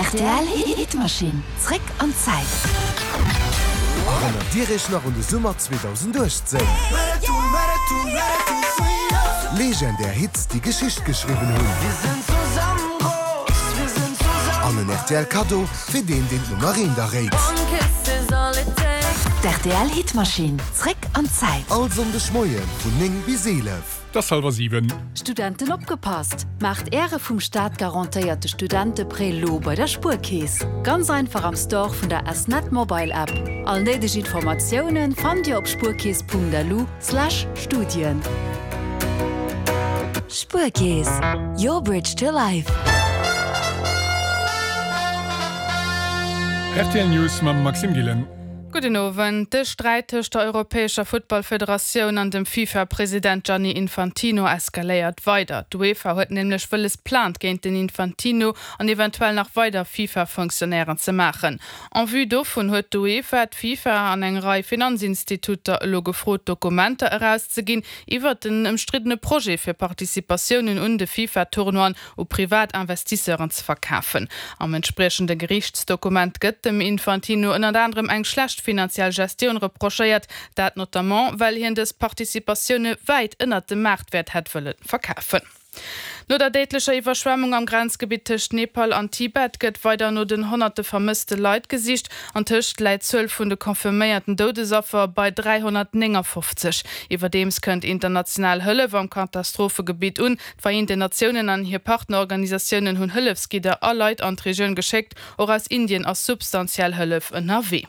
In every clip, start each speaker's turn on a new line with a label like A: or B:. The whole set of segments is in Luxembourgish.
A: Rtl Hitmaschinn, zréck an d'Zäit.
B: Erënnert Dir Iech nach un de Summer 2018? Legendär Hits, déi Geschicht geschriwwen hunn. An en rtl Kaddo fir deen, deen d'Nummer eent erréit.
A: D'RTL Hitmaschinn, zréck an d'Zäit.
B: All Sonndeg Moie vun 9 bis 11.
C: 't ass hallwer 7.
A: Studenten opgepasst! Maacht Äre vum Staat garantéierte Studenteprêt lo bei der Spuerkeess! Ganz einfach am Store vun der S-Net Mobile App. All néideg Informatiounen fannt Dir op spuerkeess.lu slash Studien. Spuerkeess, your bridge to life.
C: Rtl News mam Maxime Gillen.
D: Gudden Owend. De Sträit tëscht der europäescher Futtballfederatioun an dem FIFA-President Gianni Infantino eskaléiert weider. D'UEFA huet nämlech wëlles Plainte géint den Infantino an eventuell nach weider FIFA-Fonctionnairen ze maachen. En vue dovun huet d'UEFA, d'FIFA an eng Rei Finanzinstituter elo gefrot Dokumenter erauszeginn iwwert den ëmstriddene Projet fir Participatiounen un de FIFA-Tournoien u privat Investisseuren ze verkafen. Am entspriechende Geriichtsdokument gëtt dem Infantino ënnert anerem eng schlecht finanziell Gestioun reprochéiert, dat notamment well hien dës Participatioune wäit ënnert dem Maartwäert hätt wëlle verkafen. No der déidlecher Iwwerschwemmung am Grenzgebitt tëscht Nepal an Tibet gëtt weider no den honnerte vermësste Leit gesicht. Antëscht läit d'Zuel vun de confirméierten Doudesaffer bei 359. Iwwerdeems kënnt international Hëllef am Katastrophegebitt un. D'Vereenten Natiounen an hir Partnerorganisatiounen hunn Hëllefsgidder a Leit an d'Regioun geschéckt. Och aus Indien ass substantiell Hëllef ënnerwee.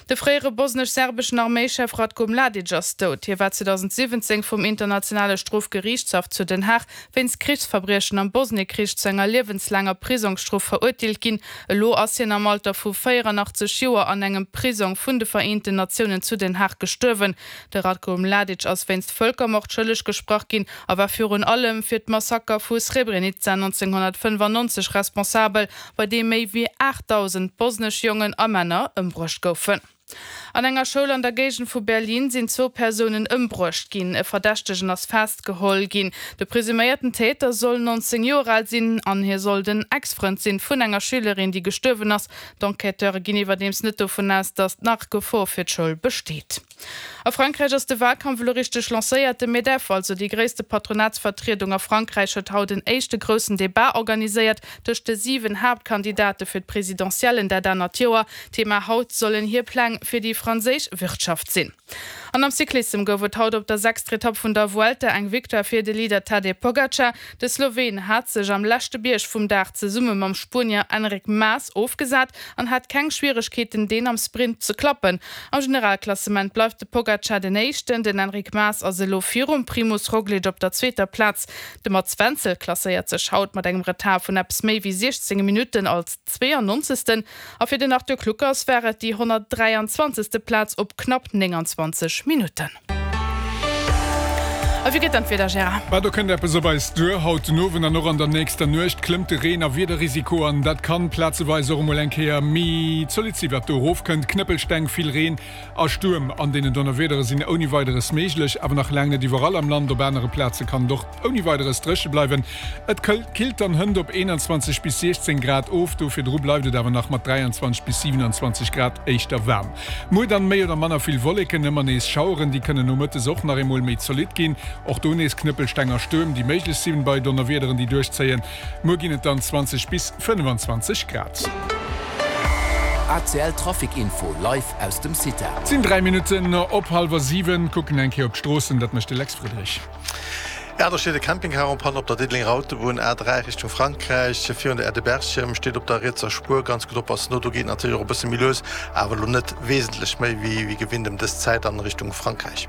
D: De fréiere bosnesch-serbeschen Arméichef Ratko Mladic ass dout. Hie war 2017 vum Internationale Strofgeriichtshaff zu Den Haag wéinst Krichsverbriechen am Bosniekrich zu enger liewenslaanger Prisongsstrof verurteelt ginn. Elo ass hien am Alter vu 84 Joer an engem Prisong vun de Vereenten Natiounen zu Den Haag gestuerwen. De Ratko Mladic ass wéinst Vëlkermord schëlleg gesprach ginn a war virun allem fir d'Massaker vu Srebrenica 1995 responsabel, bei deem méi wéi 8.000 bosnesch Jongen a Männer ëmbruecht goufen. An enger Schoul an der Géigend vu Berlin sinn zwou Persounen ëmbruecht ginn. E Verdächtegen ass festgeholl ginn. De presuméierten Täter soll 19 Joer al sinn an hie soll den Ex-Frënd sinn vun enger Schülerin, déi gestuerwen ass. D'Enquêteure ginn iwwerdeems net dovun aus, datt nach Gefor fir d'Schoul besteet. A Frankräich ass de Walkampf elo richteg lancéiert. De Medef, also déi gréisste Patronatsvertriedung a Frankräich, huet haut en éischte groussen Debat organiséiert tëscht de 7 Haaptkandidate fir d'Presidentiellen dat anert Joer. Thema haut sollen hir Pläng fir déi franséisch Wirtschaft sinn. An am Cyclissem gouf et haut op der sechster Etapp vun der Vuelta eng Victoire fir de Leader Tadej Pogacar. De Sloween hat sech am leschte Bierg vum Dag zesumme mam Spuenier Enric Mas ofgesat an hat keng Schwieregkeeten, deen am Sprint ze klappen. Am Generalklassement bleift de Pogacar den Éischten, den Enric Mas ass elo virum Primoz Roglic op der zweeter Plaz. De Mats Wenzel klasséiert sech haut mat engem Retard vun eppes méi wéi 16 Minutten als 92. A fir den Arthur Kluckers war et déi 123. Plaz op knapp 29 Minutten. A wéi gëtt dann d'Wieder, Gérard?
C: Mä do kënnt eppes op eis duer. Haut den Owend an och an der nächster Nuecht klëmmt de Reen a Wiederrisiko an dat kann plazeweis och emol eng Kéier méi zolidd si wat do erofkënnt. Knëppelsteng, vill Reen a Stuerm an deenen Donnerwiedere sinn ouni Weideres méiglech, awer nach laang net iwwerall am Land. Op anere Plaze kann et och ouni Weideres dréche bleiwen. Et killt dann hënt op 21 bis 16 Grad of, do virdru bleift et awer nach mat 23 bis 27 Grad éischter waarm. Muer dann méi oder manner vill Wolleken, ëmmer nees Schaueren, déi kënnen nomëttes och nach eemol méi zolidd ginn. Och do nees Knëppelsteng a Stuerm, déi méiglech sinn bei Donnerwiederen, déi duerchzéien. Muer ginn et dann 20 bis 25 Grad.
E: ACL Trafic Info live aus dem CITA.
C: Et sinn 3 Minutten op hallwer 7. Kucken eng Kéier op d'Stroossen, dat mécht de Lex Friedrich.
F: Jo, do steet e Campingcar en panne op der Diddelenger Autobunn, A3 Richtung Frankräich, virun der Aire de Berchem, steet op der rietser Spuer. Ganz gutt oppassen do, do geet natierlech och e bësse méi lues, awer elo net wesentlech méi wéi gewinnt ëm dës Zäit an Richtung Frankräich.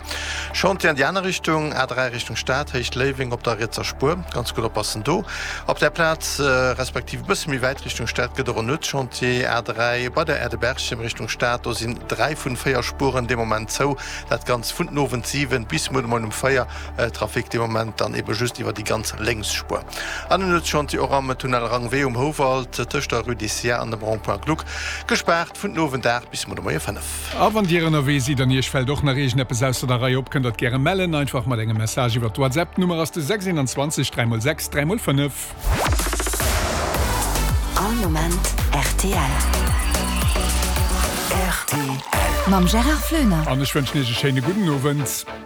F: Chantier an déi aner Richtung, A3 Richtung Stad, Héicht Léiweng op der rietser Spuer, ganz gutt oppassen do. Op där Plaz, respektiv e bësse méi wäit Richtung Stad gëtt och en Nuetschantier, A3 bei der Aire de Berchem Richtung Stad, do sinn 3 vun 4 Spueren dee Moment zou, dat Ganzt vun den Owend 7 bis muer de Moien um 4. Trafic dee Moment dann ebe just iwwer déi ganz lénks Spuer. An en Nuetschantier och am Tunnel Rangwee um Houwald tëscht der Rue des Sierres an dem Rond-point Gluck, gespaart vun den Owend 8 bis muer de Moie 5.
C: A wann Dir ënnerwee sidd an Iech fält och nach iergendeppes ausser der Rei op, kënnt Der et gäre mellen, einfach mat engem Message iwwer d'WhatsApp. D'Nummer ass de 6 21 3 x 6 3 x 5.
A: All Moment. Rtl. Rtl. Mam Gérard Floener.
C: An ech wënschen Iech e schéine gudden Owend.